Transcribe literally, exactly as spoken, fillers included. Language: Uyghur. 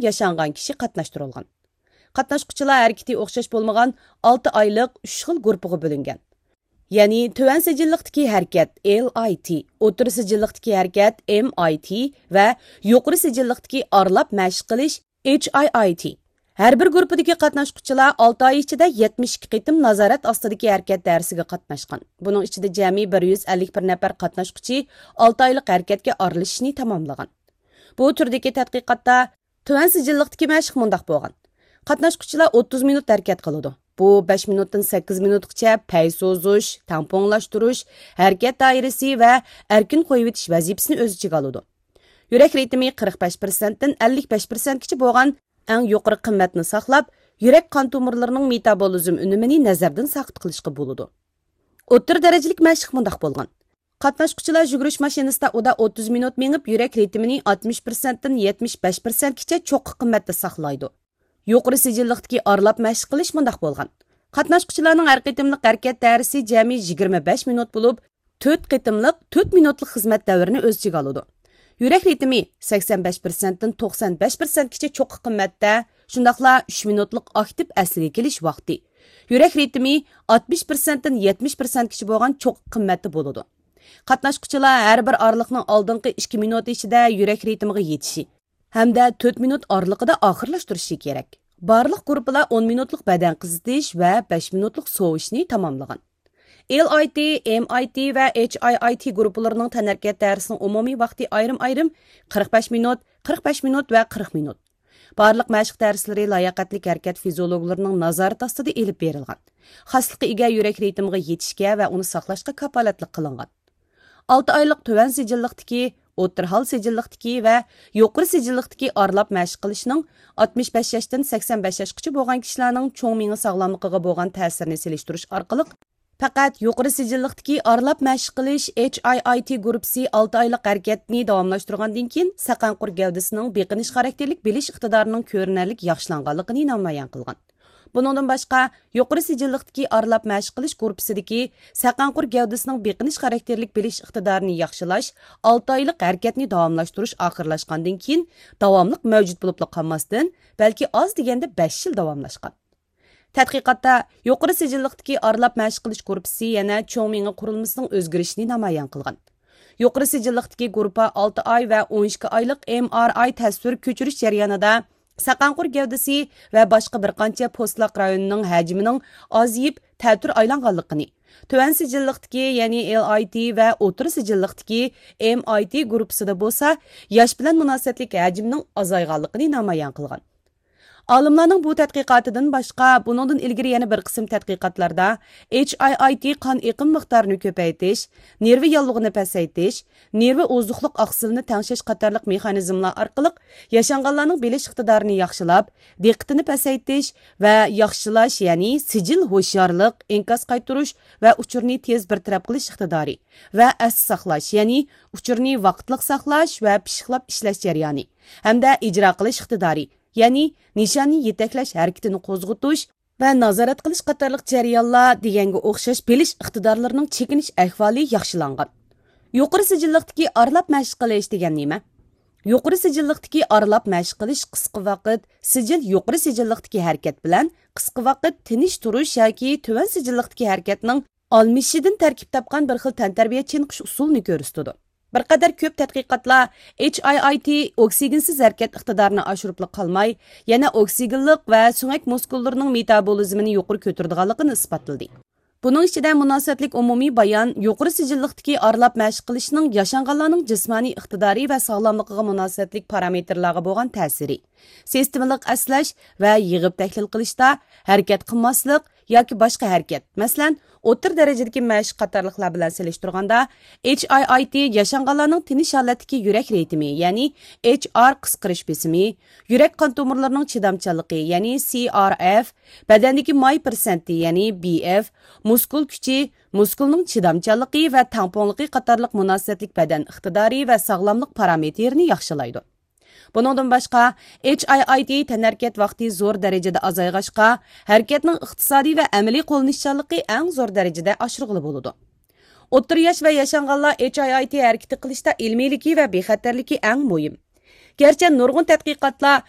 ياشانغان كىشى قاتناشتۇرۇلغان. قاتناشقۇچىلار ھەرىكىتى ئوخشاش بولمىغان ئالتە ئايلىق ئۈچ خىل گۇرۇپپىغا بۆلۈنگەن. يەنى تۆۋەن سىجىللىقتىكى ھەرىكەت، ئېل ئاي تى، ئوتتۇرا سىجىللىقتىكى ھەرىكەت، ئېم ئاي تى، ۋە يۇقىرى سىجىللىقتىكى ئارىلاپ مەشىق قىلىش، ئېچ ئاي ئاي تى. ھەر بىر گۇرۇپپىدىكى قاتناشقۇچىلار ئالتە ئاي ئىچىدە يەتمىش ئىككى قېتىم نازارەت ئاستىدىكى ھەرىكەت دەرسىگە قاتناشقان. بۇنىڭ ئىچىدە جەمئىي بىر يۈز ئەللىك بىر نەپەر قاتناشقۇچى ئالتە ئايلىق ھەرىكەتكە ئارىلىشىشنى تاماملىغان. بۇ تۈردىكى تەتقىقاتتا تۆۋەن سىجىللىقتىكى مەشىق مۇنداق بولغان. قاتناشقۇچىلار ئوتتۇز مىنۇت ھەرىكەت قىلىدۇ. بۇ بەش مىنۇتتىن سەككىز مىنۇتقىچە پەي سوزۇش، تەڭپۇڭلاشتۇرۇش، ھەرىكەت دائىرىسى ۋە ئەركىن قويۇۋېتىش ۋەزىپىسىنى ئۆز ئىچىگە ئالىدۇ. يۈرەك رىتىمى قىرىق بەش پىرسەنتتىن ئەللىك بەش پىرسەنتكىچە بولغان ئەڭ يۇقىرى قىممەتنى ساقلاپ، يۈرەك قان تومۇرلىرىنىڭ مېتابولىزم ئۈنۈمىنى نەزەردىن ساقىت قىلىشقا بولىدۇ. ئوتتۇرا دەرىجىلىك مەشىق مۇنداق بولغان. قاتناشقۇچىلار يۈگۈرۈش ماشىنىسىدا ئۇدا ئوتتۇز مىنۇت مېڭىپ، يۈرەك رىتىمىنى ئاتمىش پىرسەنتتىن يەتمىش بەش پىرسەنتكىچە چوققا قىممەتتە ساقلايدۇ. يۇقىرى سىجىللىقتىكى ئارىلاپ مەشىق قىلىش مۇنداق بولغان. قاتناشقۇچىلارنىڭ ھەر قېتىملىق ھەرىكەت دائىرىسى جەمئىي يىگىرمە بەش مىنۇت بولۇپ، تۆت قېتىملىق تۆت مىنۇتلۇق خىزمەت دەۋرىنى ئۆز ئىچىگە ئالىدۇ. يۈرەك رىتىمى سەكسەن بەش پىرسەنتتىن توقسان بەش پىرسەنتكىچە چوققا قىممەتتە، شۇنداقلا ئۈچ مىنۇتلۇق ئاكتىپ ئەسلىگە كېلىش ۋاقتى. يۈرەك رىتىمى ئاتمىش پىرسەنتتىن يەتمىش پىرسەنتكىچە بولغان چوققا قىممەتتە بولىدۇ. قاتناشقۇچىلار ھەر بىر ئارىلىقنىڭ ئالدىنقى ئىككى مىنۇتى ئىچىدە يۈرەك رىتىمىغا يېتىشى ھەمدە تۆت مىنۇت ئارىلىقىدا ئاخىرلاشتۇرۇشى كېرەك. بارلىق گۇرۇپپىلار ئون مىنۇتلۇق بەدەن قىزىتىش ۋە بەش مىنۇتلۇق سوۋۇشنى تاماملىغان. ئېل ئاي تى، ئېم ئاي تى ۋە ئېچ ئاي ئاي تى گۇرۇپپىلىرىنىڭ تەنھەرىكەت دەرسىنىڭ ئومۇمىي ۋاقتى ئايرىم-ئايرىم قىرىق بەش مىنۇت، قىرىق بەش مىنۇت ۋە قىرىق مىنۇت. بارلىق مەشىق دەرسلىرى لاياقەتلىك ھەرىكەت فىزىئولوگلىرىنىڭ نازارىتى ئاستىدا ئېلىپ بېرىلغان. خاسلىققا ئىگە يۈرەك رىتىمىغا يېتىشكە ۋە ئۇنى ساقلاشقا كاپالەتلىك قىلىنغان. ئالتە ئايلىق تۆۋەن سىجىللىقتىكى، ئوتتۇرا ھال سىجىللىقتىكى ۋە يۇقىرى سىجىللىقتىكى ئارىلاپ مەشىق قىلىشنىڭ ئاتمىش بەش ياشتىن سەكسەن بەش ياشقىچە بولغان كىشىلەرنىڭ چوڭ مېڭە ساغلاملىقىغا بولغان تەسىرىنى سېلىشتۇرۇش ئارقىلىق، پەقەت يۇقىرى سىجىللىقتىكى ئارىلاپ مەشىق قىلىش، ئېچ ئاي ئاي تى گۇرۇپپىسى ئالتە ئايلىق ھەرىكەتنى داۋاملاشتۇرغاندىن كېيىن، سەقەنقۇر گەۋدىسىنىڭ بېقىنىش خاراكتېرلىك بىلىش ئىقتىدارىنىڭ كۆرۈنەرلىك ياخشىلانغانلىقىنى نامايان قىلغان. بۇنىڭدىن باشقا، يۇقىرى سىجىللىقتىكى ئارىلاپ مەشىق قىلىش گۇرۇپپىسىدىكى سەقەنقۇر گەۋدىسىنىڭ بېقىنىش خاراكتېرلىك بىلىش ئىقتىدارىنى ياخشىلاش، ئالتە ئايلىق ھەرىكەتنى داۋاملاشتۇرۇش ئاخىرلاشقاندىن كېيىن، داۋاملىق مەۋجۇت بولۇپلا قالماستىن، بەلكى ئاز دېگەندە بەش يىل داۋاملاشقان. تەتقىقاتتا يۇقىرى سىجىللىقتىكى ئارىلاپ مەشىق قىلىش گۇرۇپپىسى يەنە چوڭ مېڭە قۇرۇلمىسىنىڭ ئۆزگىرىشىنى نامايان قىلغان. يۇقىرى سىجىللىقتىكى گۇرۇپپا ئالتە ئاي ۋە ئون ئىككى ئايلىق ئېم ئار ئاي تەسۋىر كۆچۈرۈش جەريانىدا سەقەنقۇر گەۋدىسى ۋە باشقا بىر قانچە پوستلاق رايونىنىڭ ھەجمىنىڭ ئازىيىپ، تەتۈر ئايلانغانلىقىنى، تۆۋەن سىجىللىقتىكى، يەنى ئېل ئاي تى ۋە ئوتتۇرا سىجىللىقتىكى ئېم ئاي تى گۇرۇپپىسىدا بولسا، ياش بىلەن مۇناسىۋەتلىك ھەجمىنىڭ ئازايغانلىقىنى نامايان قىلغان. ئالىملارنىڭ بۇ تەتقىقاتىدىن باشقا، بۇنىڭدىن ئىلگىرى يەنە بىر قىسىم تەتقىقاتلاردا ئېچ ئاي ئاي تى قان ئېقىم مىقدارىنى كۆپەيتىش، نېرۋا ياللۇغىنى پەسەيتىش، نېرۋا ئوزۇقلۇق ئاقسىلىنى تەڭشەش قاتارلىق مېخانىزملار ئارقىلىق ياشانغانلارنىڭ بىلىش ئىقتىدارىنى ياخشىلاپ، دىققىتىنى پەسەيتىش ۋە ياخشىلاش، يەنى سىجىل ھوشيارلىق، ئىنكاس قايتۇرۇش ۋە ئۇچۇرنى تېز بىر تەرەپ قىلىش ئىقتىدارى ۋە ئەستە ساقلاش، يەنى ئۇچۇرنى ۋاقىتلىق ساقلاش ۋە پىششىقلاپ ئىشلەش جەريانى ھەمدە ئىجرا قىلىش ئىقتىدارى، يەنى نىشاننى يېتەكلەش ھەرىكىتىنى قوزغىتىش ۋە نازارەت قىلىش قاتارلىق جەريانلار دېگەنگە ئوخشاش بىلىش ئىقتىدارلىرىنىڭ چېكىنىش ئەھۋالى ياخشىلانغان. يۇقىرى سىجىللىقتىكى ئارىلاپ مەشىق قىلىش دېگەن نېمە؟ يۇقىرى سىجىللىقتىكى ئارىلاپ مەشىق قىلىش قىسقا ۋاقىت سىجىل يۇقىرى سىجىللىقتىكى ھەرىكەت بىلەن قىسقا ۋاقىت تىنچ تۇرۇش ياكى تۆۋەن سىجىللىقتىكى ھەرىكەتنىڭ ئالمىشىشىدىن تەركىب تاپقان بىر خىل تەنتەربىيە چېنىقىش ئۇسۇلىنى كۆرسىتىدۇ. بىر قەدەر كۆپ تەتقىقاتلار ئېچ ئاي ئاي تى ئوكسىگېنسىز ھەرىكەت ئىقتىدارىنى ئاشۇرۇپلا قالماي، يەنە ئوكسىگېنلىق ۋە سۆڭەك مۇسكۇللىرىنىڭ مېتابولىزمىنى يۇقىرى كۆتۈرىدىغانلىقىنى ئىسپاتلىدى. بۇنىڭ ئىچىدە مۇناسىۋەتلىك ئومۇمىي بايان يۇقىرى سىجىللىقتىكى ئارىلاپ مەشىق قىلىشنىڭ ياشانغانلارنىڭ جىسمانىي ئىقتىدارى ۋە ساغلاملىقىغا مۇناسىۋەتلىك پارامېتىرلارغا بولغان تەسىرى، سىستېمىلىق ئەسلەش ۋە يىغىپ تەھلىل قىلىشتا ھەرىكەت قىلماسلىق ياكى باشقا ھەرىكەت، مەسىلەن، ئوتتۇرا دەرىجىدىكى مەشىق قاتارلىقلار بىلەن سېلىشتۇرغاندا، ئېچ ئاي ئاي تى ياشانغانلارنىڭ تىنچ ھالەتتىكى يۈرەك رىتىمى، يەنى ئېچ ئار قىسقىرىش بېسىمى، يۈرەك قان تومۇرلىرىنىڭ چىدامچانلىقى، يەنى سى ئار ئېف، بەدەندىكى ماي پىرسەنتى، يەنى بى ئېف، مۇسكۇل كۈچى، مۇسكۇلنىڭ چىدامچانلىقى ۋە تەڭپۇڭلۇقى قاتارلىق مۇناسىۋەتلىك بەدەن ئىقتىدارى ۋە ساغلاملىق پارامېتىرىنى ياخشىلايدۇ. بۇنىڭدىن باشقا، ئېچ ئاي ئاي تى تەنھەرىكەت ۋاقتى زور دەرىجىدە ئازايغاچقا، ھەرىكەتنىڭ ئىقتىسادىي ۋە ئەمەلىي قوللىنىشچانلىقى ئەڭ زور دەرىجىدە ئاشۇرغىلى بولىدۇ. ئوتتۇرا ياش ۋە ياشانغانلار ئېچ ئاي ئاي تى ھەرىكىتى قىلىشتا ئىلمىيلىكى ۋە بىخەتەرلىكى ئەڭ مۇھىم. گەرچە نۇرغۇن تەتقىقاتلار